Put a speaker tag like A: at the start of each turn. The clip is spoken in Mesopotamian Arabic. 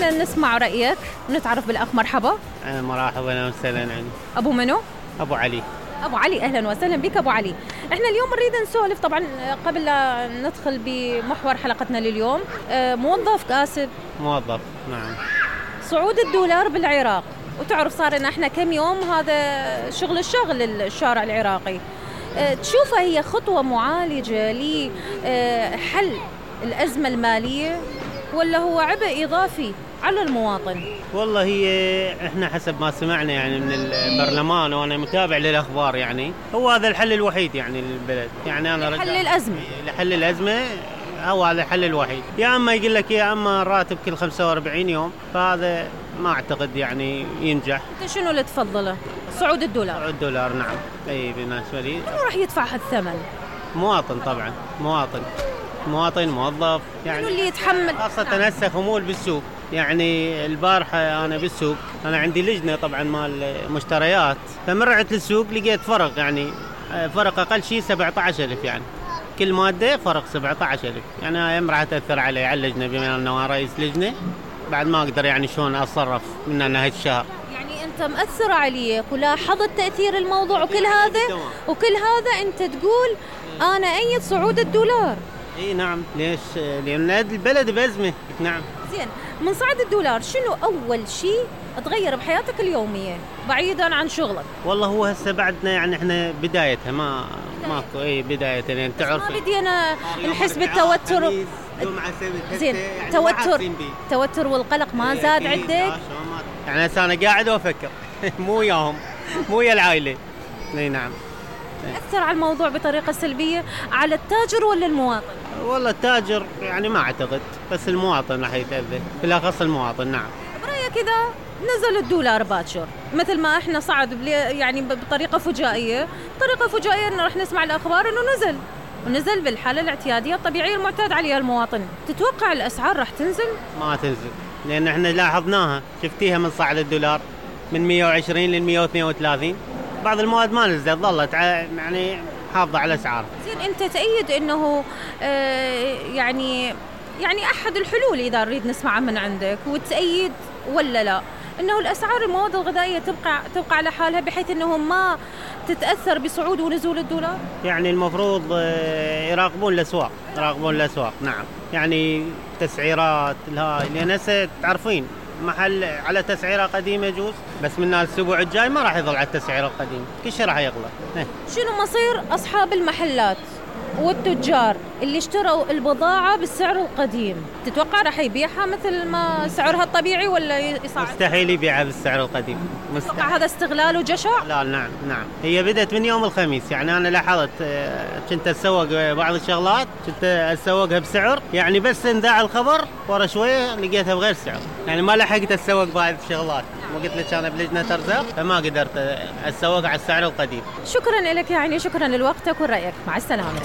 A: خلينا نسمع رأيك ونتعرف بالأخ. مرحبا.
B: مرحبا وسهلا.
A: أبو منو؟
B: أبو علي.
A: أبو علي، أهلا وسهلا بك أبو علي. إحنا اليوم نريد نسولف طبعا قبل لا ندخل بمحور حلقتنا لليوم. موظف كاسب.
B: موظف نعم.
A: صعود الدولار بالعراق، وتعرف صار لنا إحنا كم يوم هذا شغل الشارع العراقي. تشوفها هي خطوة معالجة لحل الأزمة المالية ولا هو عبء إضافي على المواطن؟
B: والله هي احنا حسب ما سمعنا يعني من البرلمان، وانا متابع للاخبار، يعني هو هذا الحل الوحيد يعني للبلد. يعني انا
A: لحل الازمه،
B: لحل الازمه هو هذا الحل الوحيد. يا اما يقول لك يا اما راتب كل 45 يوم، فهذا ما اعتقد يعني ينجح.
A: انت شنو اللي تفضله؟ صعود الدولار.
B: صعود الدولار نعم. اي بالنسبه لي.
A: شنو راح يدفع هالثمن؟
B: مواطن طبعا، مواطن موظف يعني.
A: شنو اللي يتحمل؟
B: خاصه هسه خمول بالسوق. يعني البارحة أنا بالسوق، أنا عندي لجنة طبعا مال مشتريات، فمرعت للسوق لقيت فرق، يعني فرق أقل شيء 17,000، يعني كل مادة فرق 17,000. يعني هاي راح تأثر علي على اللجنة، بما أنه رئيس لجنة بعد ما أقدر يعني شلون أتصرف من نهاية الشهر.
A: يعني أنت مأثر عليك ولاحظت تأثير الموضوع وكل هذا أنت تقول أنا أيد صعود الدولار.
B: اي نعم. ليش؟ لأن البلد بأزمة. نعم.
A: زين، من صعد الدولار شنو أول شيء تغير بحياتك اليومية بعيدا عن شغلك؟
B: والله هو هسه بعدنا يعني احنا بدايتها ماكو بداية يعني تعرف.
A: ما بدينا نحس بالتوتر. زين، توتر والقلق ما زاد عندك؟
B: يعني هسه أنا قاعد وأفكر مو وياهم، مو ويا العائلة. اي نعم.
A: أثر على الموضوع بطريقة سلبية على التاجر ولا المواطن؟
B: والله التاجر يعني ما أعتقد، بس المواطن راح يتأذى، بالأخص المواطن. نعم.
A: برأيك إذا نزل الدولار باكر مثل ما إحنا صعد يعني بطريقة فجائية إنه راح نسمع الأخبار إنه ونزل بالحالة الاعتيادية الطبيعية المعتاد عليها المواطن، تتوقع الأسعار راح تنزل؟
B: ما تنزل، لأن إحنا لاحظناها، شفتيها من صعد الدولار من 120 لل 132. بعض المواد ما نزلت، ظلت يعني حافظة على الأسعار.
A: زين، أنت تأيد إنه يعني أحد الحلول إذا نريد نسمعها من عندك، وتأيد ولا لا إنه الأسعار المواد الغذائية تبقى على حالها بحيث إنه ما تتأثر بصعود ونزول الدولار؟
B: يعني المفروض يراقبون الأسواق. نعم. يعني تسعيرات لأن هسه تعرفين محل على تسعيرة قديمة يجوز، بس من الأسبوع الجاي ما راح يظل على التسعيرة القديمة، كل شيء راح يغلى.
A: شنو مصير أصحاب المحلات والتجار اللي اشتروا البضاعة بالسعر القديم؟ تتوقع راح يبيعها مثل ما سعرها الطبيعي ولا يصعد؟
B: مستحيل يبيعها بالسعر القديم.
A: تتوقع هذا استغلال وجشع؟
B: لا نعم. هي بدأت من يوم الخميس. يعني أنا لاحظت كنت أسوق بعض الشغلات، كنت أسوقها بسعر، يعني بس انذاع الخبر ورا شوية لقيتها بغير سعر، يعني ما لحقت أسوق بعض الشغلات. وقلت لك أنا بلجنة أرزاق فما قدرت أسوق على السعر القديم.
A: شكرا لك، يعني شكرا لوقتك ورأيك، مع السلامة.